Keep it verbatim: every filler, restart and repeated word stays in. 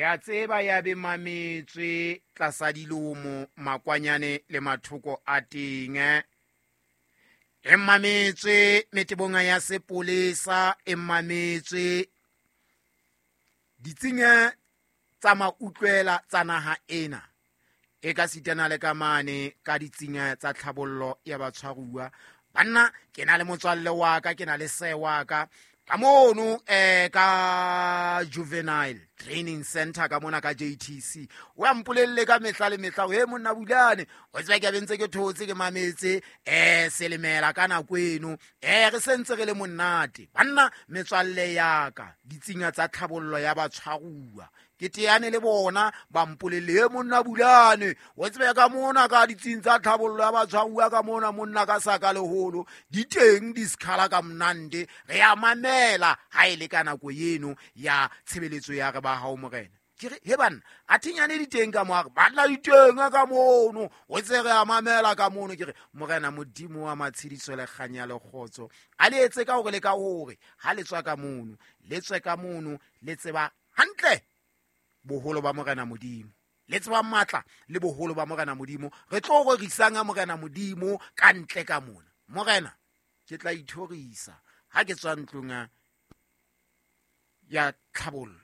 Ya tseba ya be mametswe tlasa dilomo makwanyane le mathoko a teng. E mametswe metebong ya sepolesa, e mametswe ditsing tsa mautlwela tsa naha ena. E ka sitana le ka mane ka ditsing tsa tlhabollo ya batshwaruwa. Banna ke na le motswalle wa ka, ke na le se wa ka. Ka mono eh ka Juvenile Training Center ka mona ka J T C. O ya mpolelle ka mehla le mehla, he monna Bulane, o tseba ke bentse ke thotse ke mametse eh selemela ka nako eno. Eh re sentse re le monate. Banna metswalle ya ka, ditsinga tsa tlhabollo ya batshwaruwa. Ke teane le bona ba mpolelle, he monna Bulane, o tseba ka mona ka ditsing tsa tlhabollo ya batshwaruwa ka mona monna ka saka leholo, di teng di skhala ka monande, re ya mamela ha e le ka nako eno ya tshebeletso ya re ba hao morena. Ke re, he banna, a thinyane di teng ka mo, a re, banna di teng ka mono, o tse re a mamela ka mono. Ke re, morena Modimo wa matshediso le kganya le kgotso, a le etse ka hore le ka hore ha le tswa ka mono, le tswe ka mono, le tseba hantle boholo ba morena Modimo, le tseba matla le boholo ba morena Modimo. Re tlo rorisang a morena Modimo ka ntle ka mona. Morena, ke tla ithorisa ha ke tswa ntlong ya tlhabollo.